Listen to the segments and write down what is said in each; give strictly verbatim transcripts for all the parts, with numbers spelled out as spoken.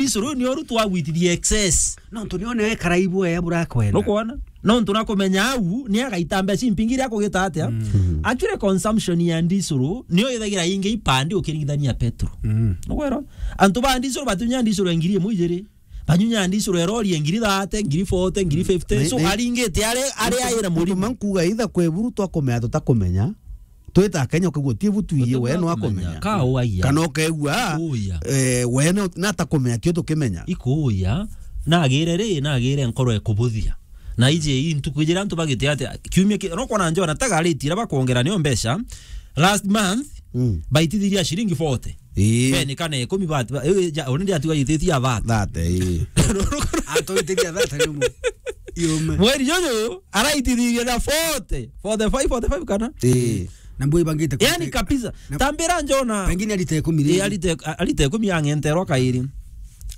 Ndicuru ni oru twagwitithia excess. Nontu ni one ekara ibwe ya burakwenda. Nukwona? Nontu nakumenya au ni agaita mbeca impingi iria akugita atia. Mm. Actually, consumption ya ndicuru niyo ithagira ingi ipandi ukiringithania petrol. Mm. Nukwona? Antu ba ndicuru batunya ndicuru ya ngiri imwe ijiri. Banyunya ndicuru ya rori ya ngiri thirty, ngiri forty, ngiri fifty. So, aringite ari, ari aira murimo. Mankuga itha kwe buru twakumenya tutakumenya. Twita Kenya, ukaigua ti butu ii, we no akumenya. Ka uaia. Kana ukaigua, eh, we no, natakumenya, tio tukimenya. Ikuuya, nagire ri, nagire nkoro ekubuthia. Na iji ii ntuku ijira antu bagite ati, kiumia ki-, no kwona njona taga rate ira bakwongera niyo mbeca. Last month, mm, baitithiria ciringi forty. Ii. Beni kana ikumi bati, ba-, ii, ja-, already atiga yititia thirty. Thirty, ii. Atoitiria thirty ni mu-, yume. Mweri juju, araitithirie na forty, forty-five, forty-five kana? Ii. Na mbui bangite. Yani kabisa. Na tambira njona. Pengine arite ikumi ii, riri. Arite, a-, arite ikumi ang'enterwa kairi.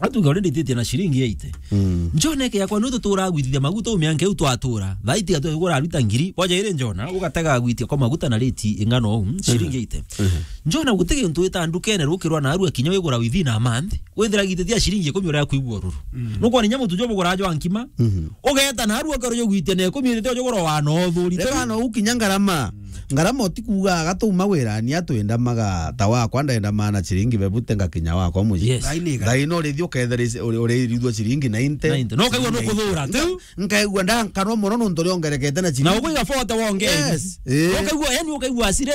Atuga already ititie na ciringi eighty. Mm. Njona eke yakwa nutu turagwithithia maguta umianke u twatura. Thaiti atu ugura aruta ngiri. Boja iri njona, ugatega gwitia kwa maguta na rate ing'ana uu, ciringi eighty. Mhm. Njona guti gintu wita ndukene rukirwa na arua kinya wigura within a month. Withira gitithia ciringi ikumi uria kwigua ururu. Mm. Nukwona inya mutu jwa bugura jwa nkima. Mhm. Ugeta na arua karo jugwitia na ikumi ithite jugura wa no thuri. Reka no ukinya ngarama. Mm. Ngarama utikuga agatuma wira ni atwenda maga ta wakwa ndenda mana ciringi bebute ngakinya wakwa muji. Yes. Thaini iga. Thaino urithi ukethera uri, uri irithua ciringi ninety. Ninety. No ukaigua nukuthura, tu? Nkaigua ndankarwa mono nontu riongerekete na ciringi. Na ukaigua forty wongereire. Yes. Eh. Ukaigua, yani ukaigua asire,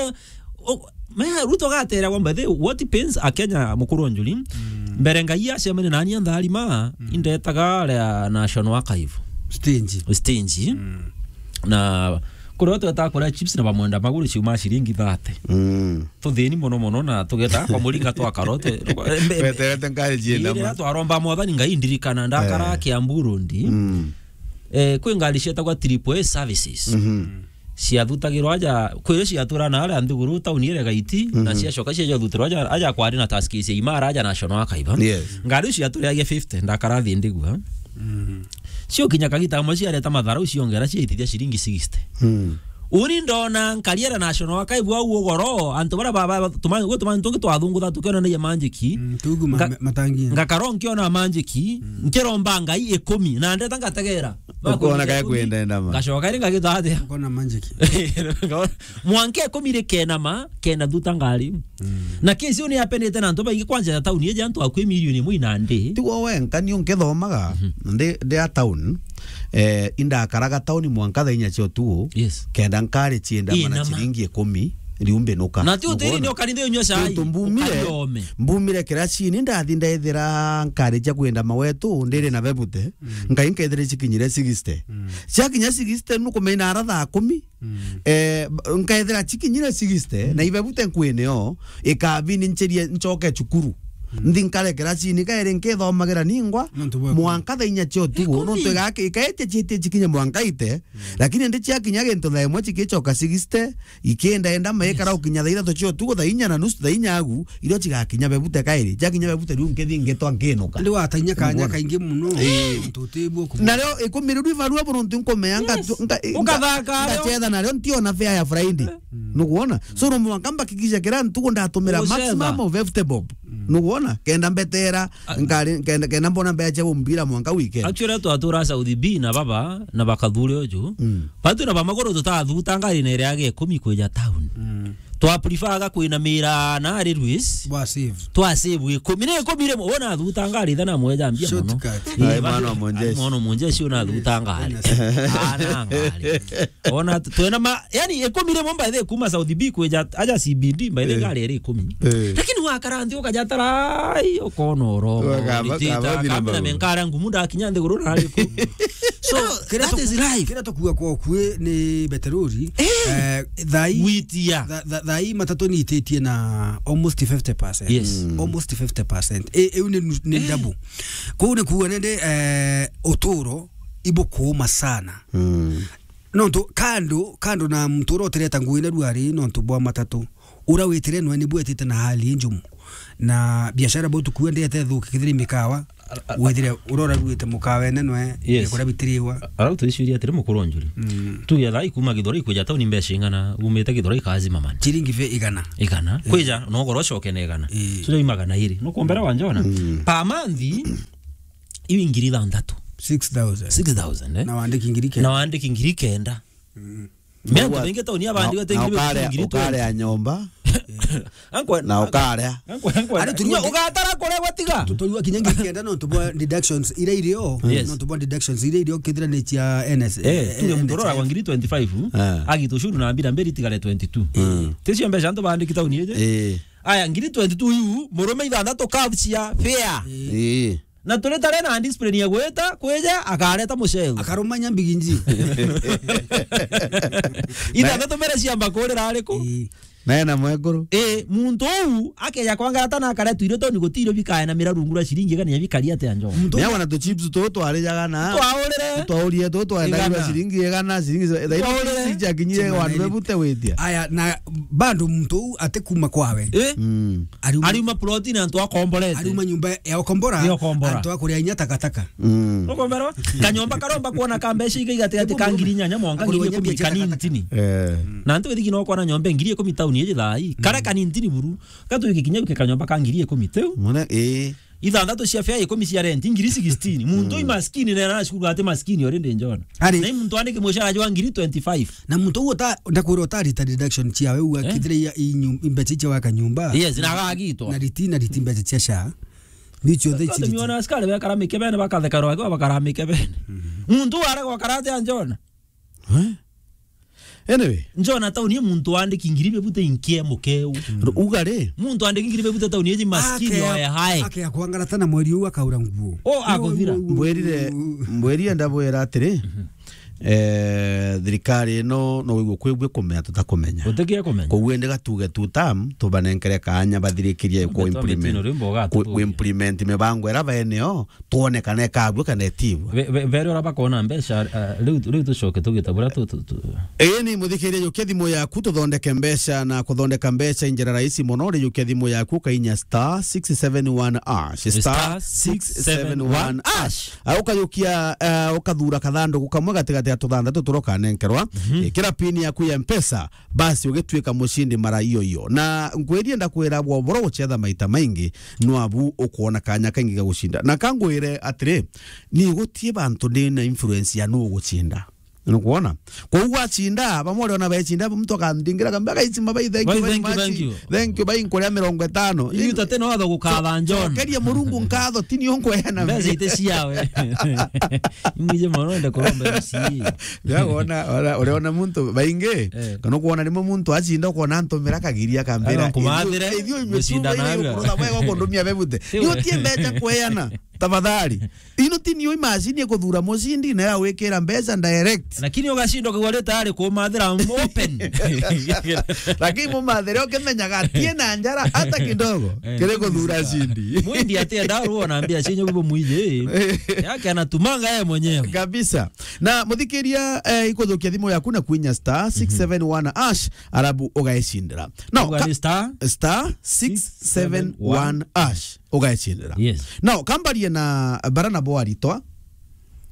u-, me Ruto gateragwa, by the way, what pains a Kenya mukuru njuri. Mm. Mbere Ngai acemania nani antharima, mm, indetaga aria National Archive. Stage. Stage. Mm. Na kuria twetaga kuria chips na bamwenda maguru ciuma ciringi thirty. Mm. Tuthini mono mono na tugeta kwa muringa twa karote. Mbe-, mbe-, weterete ngari cienda iri ma. Twaromba Mwathani Ngai ndirikana ndakara, eh, Kiambu Road. Mm. Eh, kwi ngari cietagwa Triple A services. Mhm. Ciathutagirwa aja, kwi iria ciatura na aria nthiguru tauni iria gaiti, na, mhm, ciacoka ciaja thutirwa aja, aja kwari na taxi cia Imara aja National Archive. Yes. Ngari icio ciaturiagia fifty, ndakara thi ndigua. Mhm. Cio kinya kagita kamwe ciareta mathara, ciongera ciaitithia ciringi sixty. Mm. Uni ndona nkariera National Archive au ugoro, antu bara ba, ba, tuma-, gwe tumani tungi twathungutha tukionanagia manjiki. Mm, tugu ma-, nga-, ma-, matangi. Ngakara nkiona manjiki, mm, nkiromba Ngai ikumi, na ndeta ngategera. Ukona kaya kwenda ndama. Ngacoka iri ngagita atia? Ukona manjiki. Mwanka ikumi ri kenama, kenda thuta ngari. Mm. Na kesi uni apendete na antu baingi kwanja ya tauni eja antu akwi milioni imwe inandi. Tigo wenka ni unkithomaga, mhm, ndi, ndi a town, eh, indakaraga tauni mwanka thaa inya cia utugu, yes, kenda nkari cienda mana ciringi ikumi, riu mbinuka. Na ti utiri ni ukanithe unywa cai, tontu mbumire, ukariome. Mbumire kiracini, ndathi ndethira nkari cia kwenda mawetu, ndiri na bebute, mm, ngai nkethira cikinyire sixty. Mm. Ciakinya sixty, nukumenya ara thaa kumi, mm, eh, b-, nkethira cikinyire sixty, mm, na ibebute nkwine o, ikabini ncherie nchoke cukuru. Mm. Nthi nkare kiracini kairi nkithomagira ningwa, nontu bwa mwanka thaa inya cia utugu, ikumi. Nontu igaki-, ikaetia ciitie cikinye mwanka ite, mm, lakini ndi ciakinya gintu thaa imwe cikicoka sixty, ikienda enda maikara, yes, gukinya thaa ithatu cia utugu, thaa inya na nusu, thaa inya agu, irio cigakinya bebute kairi. Ciakinya bebute riu nkithi ngitwa nkinuka. Ndi watainya kanya kaingi muno. Ii. Tutibwo kumenya. Nario ikumi riu ibarua buruntu nkumea nga-, yes, nga-, nga-, ukathaka nario, ngachetha nario ntiona fare ya Friday. Mm. Nukwona? So, no mwanka mbakikisha kira ntuku ndatumira maximum of fifty bob. Mm. Nukwona? Kenda mbetera, ah, nkari-, kenda, kenda mbona mbeca cia gumbira mwanka weekend. Actually, twatura South B na baba, na bakathure uju. Mm. Batu na bamaguru tutathuta ngari na iria ya ikumi kwija town. Mm. Twa prefer ga kwinamira na railways. Bwa save. Twa save ikumi. Ni ikumi rimwe, wona thuta ngari thana mweja mbia mono. Shortcut. Ii, ai, mwana wa Monjeshi. Mwana wa Monjeshi una thuta ngari. Yes. Ana ngari. Ona tu-, twena ma, yani, ikumi rimwe by the way kuma South B kwija aja C B D, by the way, eh, ngari iri ikumi. Eh. Lakini wakara nthi ukaja tarai, ukona oro. Wakaba, kabati na menkara ngumu ndakinya nthiguru na ari ku. So, that is life. Kira tukuga kwa ukui ni beterori, eh, eh, thai, gwitia. Tha-, tha-, thai matatu ni ititie na almost fifty percent. Yes. Mm. Almost fifty percent. E, iu ni nu-, ni, eh, double. Kuu ni kuuga nende, eh, uturo ibukuuma sana. Mm. Nontu kando, kando na muntu uria utireta ngugi na ruari nontu bwa matatu, uria witire nwe ni bwetite na hali injumu. Na biashara bau tukua ndete thuki kithiri mikawa, Withire urora ruite mukawene nwe, yes, kuria bitiriwa. Arau twiciria atiri, mukuru njuri. Mm. Tuge thaa ii kuma Githurai kwija tauni mbeca ing'ana, umite Githurai kazima man. Ciringi fe igana. Igana. Eh. Kwija, no goro coke na igana. Eh. Tuge i magana iri. No kumbera wa njona. Mm. Per month, iu ngiri ithanthatu. Six thousand. Six thousand, eh? Na wandiki ngiri kenda. Na wandiki ngiri kenda. Mm. Mea antu baingi tauni ya bandi na, na ngiri ukarea, ngiri ukarea nyomba. Ankwe, na ukarea. Ankwe, ankwe. Ari tunywa ugatara kuregwa tiga. Tutoiwa kinya ngiri kenda no tubwa deductions ira irio. Yes. No tubwa deductions ira irio kithira ni cia N S. Eh, tuge muntu urora kwa ngiri twenty-five, eh, agita ushuru na mbira mbiri tigare twenty-two. Mm. Ticio mbeca antu bandiki tauni ije. Eh. Aya, ngiri twenty-two iu, murume ithanthatu kabu cia fare. Eh. Na turi tare na discipline ya gwita, kwija, akareta mucegu. Akaruma nyambigi nji. Ithanthatu mbere ciamba kurira ariku? Ii. Naye na mwekuru. Ii, muntu uu, akeja kwangata na akaretu irio toni gutirio bikae na mira rungu rwa ciringi igana ya bikari atia njo. Muntu uu. Nawe na tu chips tu twarijaga na. Twaurire. Twaurire tu twaendagira igana. Ciringi igana, ciringi za-, thairi. Twaurire. Ciringi ciakinyire. Chuma wandu neri. Bebute witia. Aya, na bado muntu uu ati kuma kwawe. Ii. Mm. Ariuma, ariuma ploti na antu akomborete. Ariuma nyumba ya ukombora, ya ukombora. Antu akuria inya takataka. Mm. Ukomberwa? Kanyomba karomba kuona ka mbeca iga igati gati ka ngiri inyanya mwanka ngiri ikumi kanintini. Eh. Na antu bithiki no kuona nyomba ngiri ikumi tauni iji thai. Kare kanintini buru. Gatu iki kinya ke kanyomba ka ngiri ikumi teu. Mwana, eh. Ithanthatu cia fare ikumi cia rent, ngiri sixteen. Muntu i maskini na aracukuru ati maskini already njona. Ari. Na i muntu andiki mucara jwa ngiri twenty-five. Na muntu uu uta-, ndakwira utarita deduction ciawe, uu akithire i, i nyu-, i mbeca cia waka nyumba. Yes, na agagitwa. Na riti, na riti mbeca cia sha. Ni cionthe. Tatu ici riti. Miona askari bekara mikebene, bakatheka rwagwa, bakara mikebene. Muntu uu aregwa karate anjona. Eh? Anyway. Njona tauni ya muntu wandiki ngiri bebute inkie mukeu. Ru-, uga ri? Muntu wandiki ngiri bebute tauni eji maskini. Akea, oya hae. Akea kwangarata na mweri uu akaura nguo. O, aguthira. Mbwirire, mbwirire ndabwira atiri, eh, thirikari ino no wigwe kwigwe kumenya tutakumenya. Utikia kumenya. Koguo indi gatuge tu tam, tubanenkere kaanya bathirikirie ku implement, ku implement mibango ira baeneo, twone kana ikabua kana itibua. Be-, be-, bere ora bakona mbeca, ah, riu, riu tucoke tugita buria tu, tu, tu. Ii ni muthikiria, jukia thimu yaku tuthondeke mbeca, na kuthondeka mbeca i njira rahisi mono. Ri jukia thimu yaku ukainya star six seven one hash. Star six seven one hash. Ah, ukajukia, ah, ukathura kathanduku kamwe gatigati ya tuthanthatu turia ukanenkerwa. Mhm. Ikira pin yaku ya Mpesa, basi ugituika mucindi mara iyo iyo. Na ngwirie ndakwira bwa boro gucetha maita maingi, nwabu ukwona kanya kaingi ga gucinda. Na kangwire atiri, ni gutie bantu ndi na influence ya nu ugucinda. Nukwona? Kwa uu wacinda, bamwe uriona becinda, muntu akandingira akambia, "Guys, mabai, thank you very much. Thank you, bai nkuria mirongo itano." Iu tate no atho gukatha John. Cokeria Murungu nkatho, ti ni unkweana mbeca ite ciawe. Ingije mono ende kuromba M C A. Ya wona, ora, uriona muntu baingi, eh, kana kuona rimwe muntu acinda ukona antumira kagiria akambira, "Ithiu, ithiu inywe tu baingi kurutha bwega kundumia bebute." Ni utie mbeca kweana, tafadhali. Ino ti niyo imashini ikuthura mucindi na ya gwikira mbeca direct. Lakini ugashindwa kugwa ri tayari kumathira open. Lakini mumathire ukimenyaga atie na njara hata kidogo. Eh, kiri kuthura cindi. Mwindi atienda ruo na mbia cienye bubu mwiji. Yake anatumanga yeye mwenyewe. Kabisa. Na muthikiria, eh, ikuthukia thimu yaku na kwinya star six seven one hash, arabu ugaicindira. No, uga ka-, ni star star six seven one hash. Ugaicindira. Yes. Now, kambarie na bara na bo aritwa,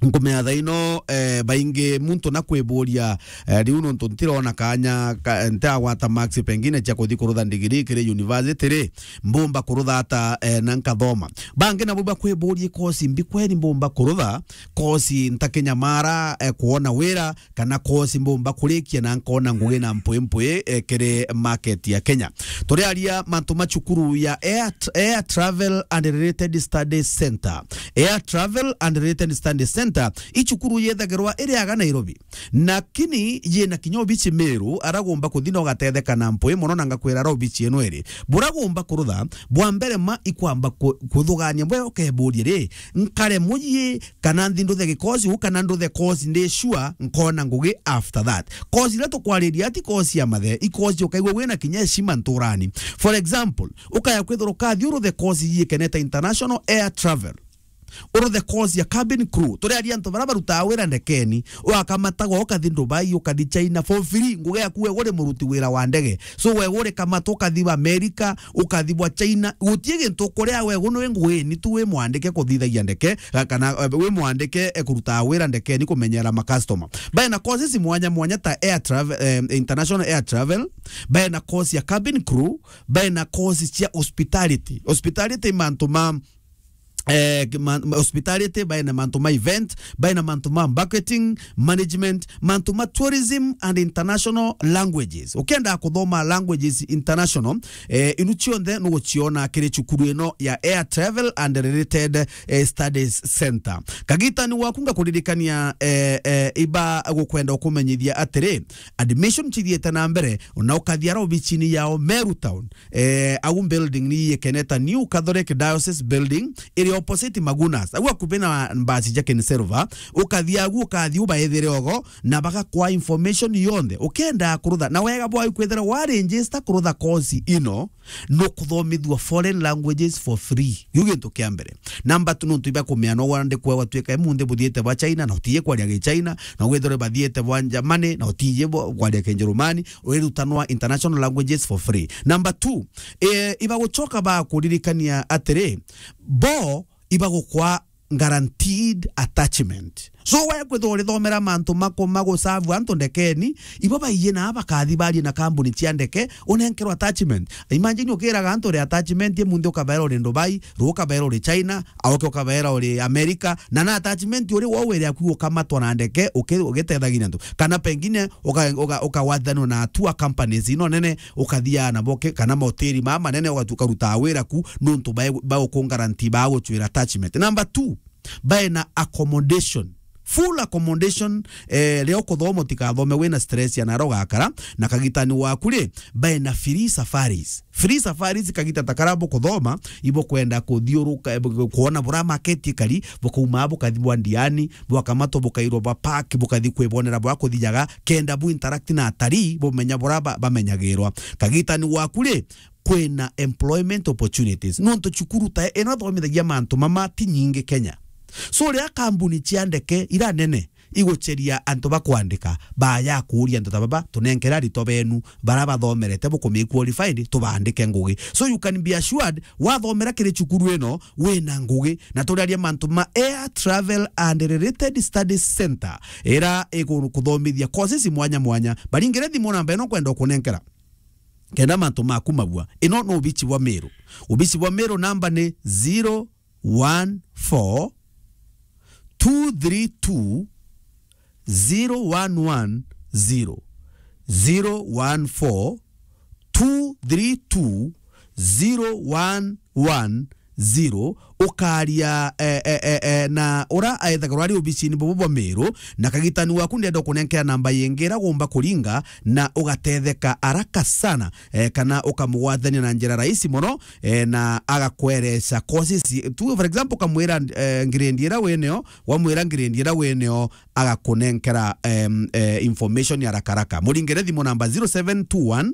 nkumenya thaa ino, eh, baingi muntu na kwiburia, eh, riu nontu ntirona kanya ka, ntiagwata marks pengine cia kuthi kurutha ndigiri kiri university ri, mbumba kurutha ata, eh, na nkathoma. Bangi nabo bakwiburia kosi mbi kweri mbumba kurutha, kosi ntakinyamara, eh, kuona wira, kana kosi mbumba kurikia na nkona ngugi na mpwi mpwi, eh, kiri market ya Kenya. Turiaria mantu ma cukuru ya Air, Air Travel and Related Studies Center. Air Travel and Related Studies Center i cukuru yethagirwa iri aga Nairobi. Lakini yina kinya obici Meru, aragumba kuthi na ugatetheka na mpwi mono na ngakwira ara obici ino iri. Buragumba kurutha, bwa mbere ma ikwamba ku-, kuthugania bwe ukeburia ri, nkare muyi kana nthi nduthe gikosi uu, kana nduthe kosi ndi sure nkona ngugi after that. Kosi iria tukwariria ti kosi ya mathe, i kosi ukaigua wina kinya heshima nturani. For example, ukaya kwithirwa ukathi uruthe kosi yikeneta international air travel. Uruthe course ya cabin crew. Turiaria antu bara barutaga wira ndekeni. Ugakamata go ukathi Dubai, ukathi China for free. Ngugi yaku we uri muruti wira wa ndege. So we uri kamata ukathi wa America, ukathi bwa China. Gutie gintu ukuria we guno wi ngugi ni tu wi mwandike kuthithagia ndeke, ga-, kana, eh, wi mwandike, eh, kuruta wira ndekeni kumenyera ma customer. Bae na courses mwanya mwanya ta air travel, eh, international air travel, bae na course ya cabin crew, bae na courses cia hospitality. Hospitality mantu ma eh, ma-, ma-, hospitality, bae na mantu ma event, bae na mantu ma banqueting, management, mantu ma tourism and international languages. Ukienda kuthoma languages international, eh, inu cionthe nuguciona kiri cukuru ino ya Air Travel and Related, eh, Studies Center. Kagitani waku ngakuririkania, eh, eh, iba gukwenda ukumenyithia atiri, admission cithiite na mbere, na ukathia aro obicini yao Meru Town. Eh, au building ni ikeneta New Catholic Diocese Building, iri opposite Magunas. Au akubi na mbasi ja Ken Silver, ukathi agu, ukathi ubaethire ogo, na bagakwa information yonthe. Ukienda kurutha, na wega bwayo kwithira wa register kurutha course ino, no kuthomithua foreign languages for free. Yu gintu kia mbere. Number two, nontu iba kumea no wande kwa watwika emunthi buthiite bwa China, na utiye kwaria gi China, na withire bathiite bwa Germany, na utiye bo-, kwaria Kijerumani, urirutanwa international languages for free. Number two, eh, ibagucoka bakuririkania atiri, bo ibagukwa guaranteed attachment. So we kwithwa urithomera mantu mako magusavu antu ndekeni, ibo baiye na bakathi barie na kambuni cia ndeke, unenkerwa attachment. Imagine ukiraga antu uri attachment, emunthi ukabaera uri Dubai, ruu ukabaera uri China, auke ukabaera uri America, na na attachment uri wo wiri aku ukamatwa na ndeke, uki-, ugitethagia antu. Kana pengine uka-, uka-, ukawathanwa na tour companies ino nene, ukathiaga nabo ke-, kana mahoteli maa manene, ugatu-, ukarutaa wira ku, nontu bae-, bagukungaranti, bagucwira attachment. Number two, bae na accommodation. Full accommodation, eh, ria ukuthoma utikathome wina stress ya naro ugakara, na kagitani waku ri, bae na free safaris. Free safaris kagita ta kara bukuthoma, ibukwenda kuthiuruka, eh, bu-, kuona bura market ikari, bukaumaa bukathi bwa Ndiani, bwakamatwa bukairwa bwa park, bukathi kwibonera bwa kuthijaga, kenda bu interact na atarii, bumenya bura ba-, bamenyagirwa. Kagitani waku ri, kwina employment opportunities. Nontu cukuru ta ino ithomithagia mantu mama ti nyingi Kenya. So, riria kambuni cia ndeke ira nene iguceria antu ba kwandika, baya kuuria antu ta baba, "Tunenkere aritwa benu bara bathomerete bukume qualified, tubaandike ngugi." So you can be assured, wathomera kiri cukuru ino, wina ngugi. Na turiaria mantu ma Air Travel and Related Studies Center, ira igukuthomithia courses mwanya mwanya. Baringire thimu namba ino kwenda ukunenkera. Kenda mantu maku mabua. Ino no ubici bwa Meru. Ubici bwa Meru namba ni zero one four two three two zero one one zero. Zero one four two three two zero one one zero. Ukaria, eh, eh, eh, eh, na ura aethagirwa ari obicini bobo bwa Meru, na kagitani waku ndenda kunenkea namba yingi ira gumba kuringa, na ugatetheka haraka sana, eh, kana ukamugwatania na njira rahisi mono, eh, na agakwereca courses. Tu, for example, ukamwira, eh, grade ira winio, wamwira grade ira winio, agakunenkera, em, eh, information ya haraka haraka. Muringire thimu namba zero seven two one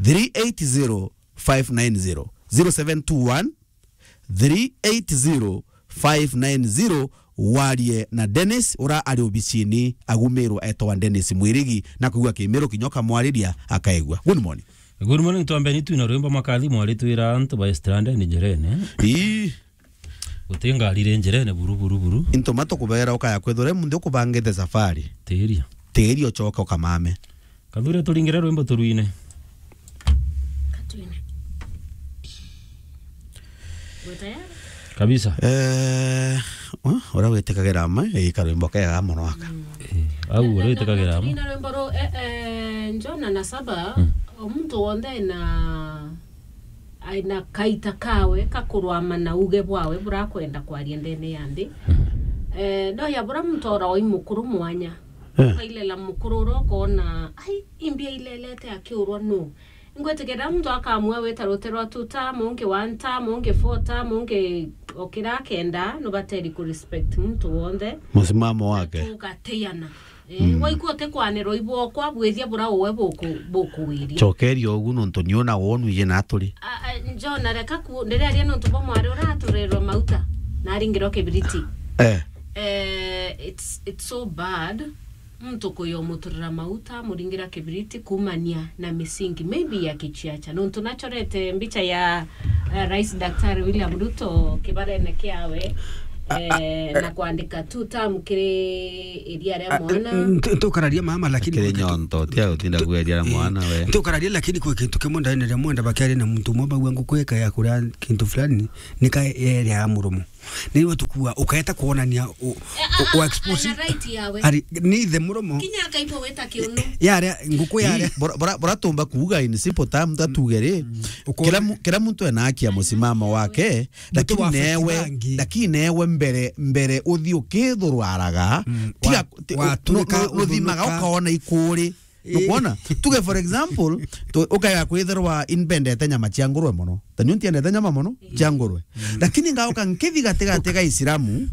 three eight zero five nine zero. Zero seven two one three eight zero five nine zero. Warie na Dennis, ura ari obicini agu Meru, etagwa Dennis Mwirigi, na kuigua Kimiru kinya ukamwariria akaigua. Good morning. Good morning, twambeni twina rwimbo makathi mwari twira antu ba stranded njerene. Ii. Guti ngari iri njerene buru, buru, buru. Into matukubera ukaya kwithura munthi ukubangite safari. Tiria. Tiria ucoke ukamame. Kathure turingire rwimbo turwine. Katwine. Wi tayari? Kabisa. Eh, uh, uria witikagira ma, ii karwimbo kega mono aka. Mm. Eh, au uria witikagira ma. Turina rwimbo ru, eh, eh, Jona na Saba, mm, o muntu wonthe ena, ena kaita kawe ka kurwama na uge bwawe burakwenda kwaria ndene ya nthi. Mm. Eh, no ya bura muntu ora oi mukuru mwanya. Eh. Ukailela mukuru uria ukona, ai, imbia ilelete akiurwa nu? Ngwitikiria muntu akamua wita ruti rwa two term, ungi one term, ungi four term, ungi okira akenda, nubateri ku respect muntu wonthe. Musimamo wake. Tugateyana. Eh, mm, waigua utikwanirwa ibwokwa, bwithia bura uwe buku-, bukuwiria. Cokeria ugu nontu ni ona wonu ije na aturi. A, a, Jona, reka ku, ndiraria nontu bwa mwari uraturerwa mauta. Na Aringirwa kibiriti. Eh. Eh, it's, it's so bad. Muntu kuyo muturira mauta, muringira kibiriti, kumania na misingi, maybe ya kichiacha. Nontu nachorete mbicha ya, eh, Rais Daktari William Ruto kibarene kiawe, eh, na kwandika two term kiri iria ria mwana. Ntukararia mama, lakini kiri kwi kintu nyonto, tia utinda kueria mwana we. Ntukararia, lakini kwi kintu kimwe ndaene ria mwenda bakiaria na muntu umwe, bagua nguku eka ya kuria kintu fulani, nika yeria ya muromo. Niwe tukua, ukaeta kuonania u-, u-, u-, expose. Ari, ni the muromo. Kinya akaigua weta kiuno. Yaria, nguku yaria. Ii, bora, bora, bora tumba kuuga in simple terms, ta tuge ri, kira mu-, kira muntu ena haki ya musimamo wake, lakini newe, lakini newe mbere, mbere uthi ukithurwaraga, tiga, wa-, ti-, u-, watwika nu-, nu-, nuthimaga uthunuka, ukaona ikuri. Nukwona? Tuge for example, tu-, ukaya kwithirwa imbendete nyama cia ngurwe mono. Ta niu ntiendete nyama mono cia ngurwe. Lakini ngauka nkithi gatigati ga Isilamu,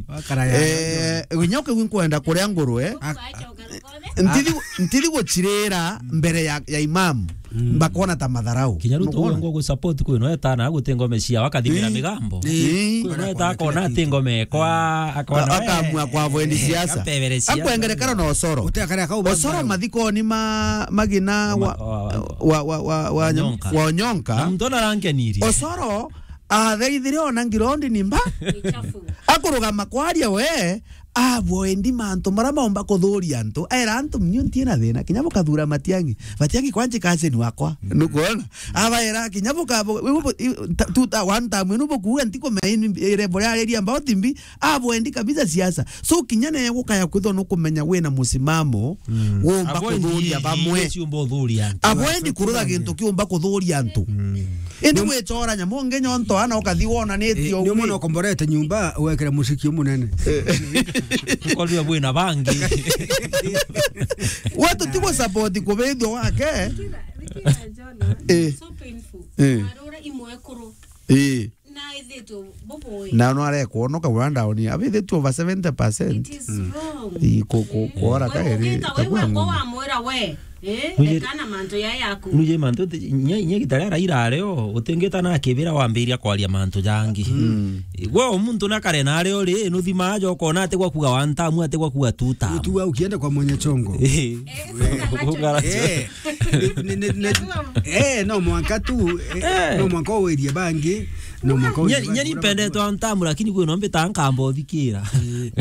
eh, nyoka iu nkwenda kuria ngurwe, ntithi, ntithi guchirira mbere ya, ya imamu. Mbakona ta matharau. Kinya riu tuge ngo gu support kwi no etana guti ngome cia wakathimira migambo. Kwi no eta akona ati ngome kwa, akona we. Akamua kwa avoid siasa. Akwengere karo na osoro. Osoro mathikoni ma magina wa, wa, wa, wa, wa nyonka. Na muntu ona arankeniri. Osoro athaithire ona ngirondi ni mba. Akurugama kwaria we, abwendi mantu mara maumba kuthuria antu. Era antu, "Mnyu ntiena thina, kinya bukathura Matiang'i. Matiang'i kwanji cousin wakwa." Nukwona? Abaera kinya buka-, bu-, bu-, bu-, i-, ta-, tu-, ta-, one time inu bukuuga ntikumenya ini-, ire buria areria mbao timbi, abwendi kabisa siasa. So, kinya newe gukaya kwithwa nukumenya wina musimamo, wumba kuthuria bamwe. Abwendi kuruga gintu kiumba kuthuria antu. Indi gwichora nyamu ngi nyonto ana ukathi wonanitie ugwi. Ni mwana ukomborete nyumba, wekire muciki umunene. Ukorire bwina bangi. Wetu tigwa support kubithio wake. Ricky na, Ricky na John, eh, it's so painful. Eh. Arora imwe ekuru. Eh. Na ithitwe bubui. Na no arekwonoka wira ndaoni. Abithitwe over seventy percent. It is wrong. I ku-, ku-, kuora kairi. Ugita we wakwa wamwira we. Eh, ekana mantu ya yaku. Nuje mantu ti-, nye, nye gitara Raila areo, utingita na kibira wambiria kwaria mantu jangi. Mm. Gwe muntu na kare na areo ri, nuthima aja ukona ati gwa kuga one term, ati gwa kuga two term. Ukienda kwa mwenye chongo. Eh. Eh, ni, ni, ni, eh, no mwanka tu, eh, no mwanka uwirie bangi, no mwanka uwirie bangi. Nye nipendetwe antamu, lakini kwi no mbita nkamba uthikira. Eh.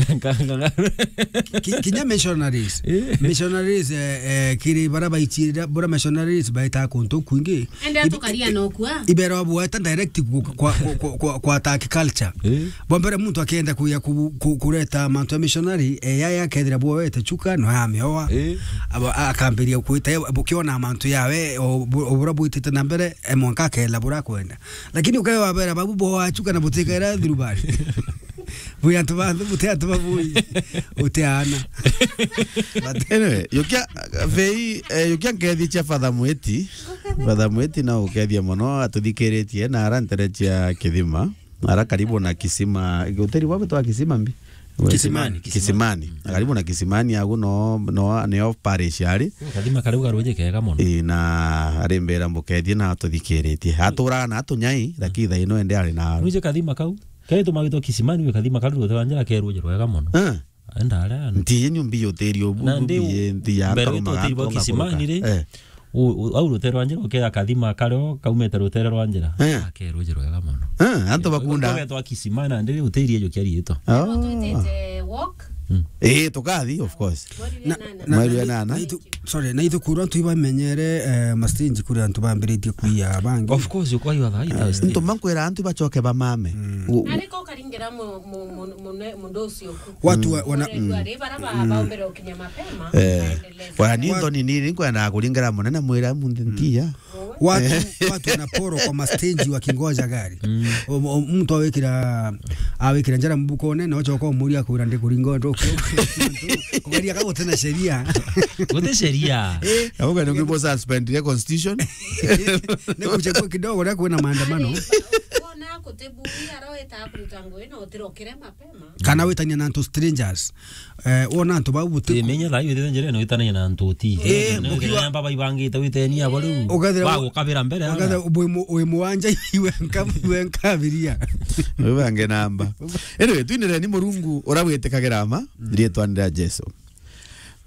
Ki-, kinya missionaries. Eh. Missionaries, eh, eh, kiri bara baichirira, bura missionaries baita kuntu kwingi. Ende atukaria no kua. Ibero bweta direct ku-, kwa, kwa, kwa, kwa, kwa attack culture. Eh. Bwa mbere muntu akenda kuya ku-, ku-, kureta mantu ya missionary, eh, yaya akethira bwowete chuka, no amioa. Eh. Abo-, a-, akambiria kwita, eh, bukiona mantu yawe, o bu-, o bura bwitite na mbere, eh, mwanka akela bura kwenda. Lakini ukae wabera babu bo wachuka na butikera thirubari. Bwi antu ba, buti antu ba bui. Uti ana. But anyway, yukia, vei, eh, yukia nkethi cia Father Mwiti. Father Mwiti na ukethia mono atuthikiritie na ara ntere cia Kithima. Ara karibu na kisima, hoteli bwa gwitwa Kisima mbi? Kisimani, Kisimani. Kisimani. Na karibu na Kisimani agu no, no, nio parish ari. Kathima kariu garuji kega mono. Ii, na ari mbera mbukethie na atuthikiritie. Aturaga na atunyai, lakini thaa ino ende ari na. Nuje kathima kau. Kaitu magitwa Kisimani, we kathima kariu rute rwa njira keruji rwega mono. Eh. Enda aria. Ntiye nyumbi yoteri obu, na ndi mbi, ntiya mbere nkarumaga, hoteli bwa nkarumaga. Kisimani ri. Eh. U-, u-, au rutere rwa njira ukea kathima kario kaumite rutere rwa njira. Eh. Akeruji rwega mono. Eh, antu bakunda. Ugetwa Kisima na ndiri utiri ejo kia riitwa. Oh. Twitite walk. Mm. Eh, tukathi, of course. Mweri wa nana. Mweri wa nana. Na ithu-, sorry, na ithu kurwa antu ibamenyere, eh, mastage kuri antu bambiritie kuiya bangi. Of course, uko hiyo thaita. Eh, ntu mankwira antu bachoke bamame. Mm. U-, u- Na niko karingira mu-, mu-, mu-, mune-, mundu ucio ku. Watu wa-, wana- Ore, mm. Ri bara ba-, baombere ukinya mapema, eh, baendelee. Wana ni nthoni nini nkwenda kuringera munene mwira munthi ntia. Watu, watu wanaporo kwa masteji wakingoja gari. Mm. O, o, mtu awikira, awikira njara mbuko nene, ochoka umuria kwira ndi kuringo ndo. Kugeria ka gutena sheria. Gute sheria. Eh. Na uga ndio suspend ya constitution. Ne kuchagua kidogo na kuona maandamano. Wona Kuti bui ara wita kuruta ngugi na utirokire mapema. Kana witania na antu strangers. Eh, wona antu bau buti- Imenya thaa iu witite njira ino witanagia na antu uti. Eh, mukiwa- Namba baibangite witenia abo riu. Ukethira- Bagukabira mbere. Ukethira wi mu-, wi muwanja iwe nka-, iwe nkabiria. Ubange namba. Anyway, twinireni Murungu uria witikagira ma, rietwa ni ria Jesu.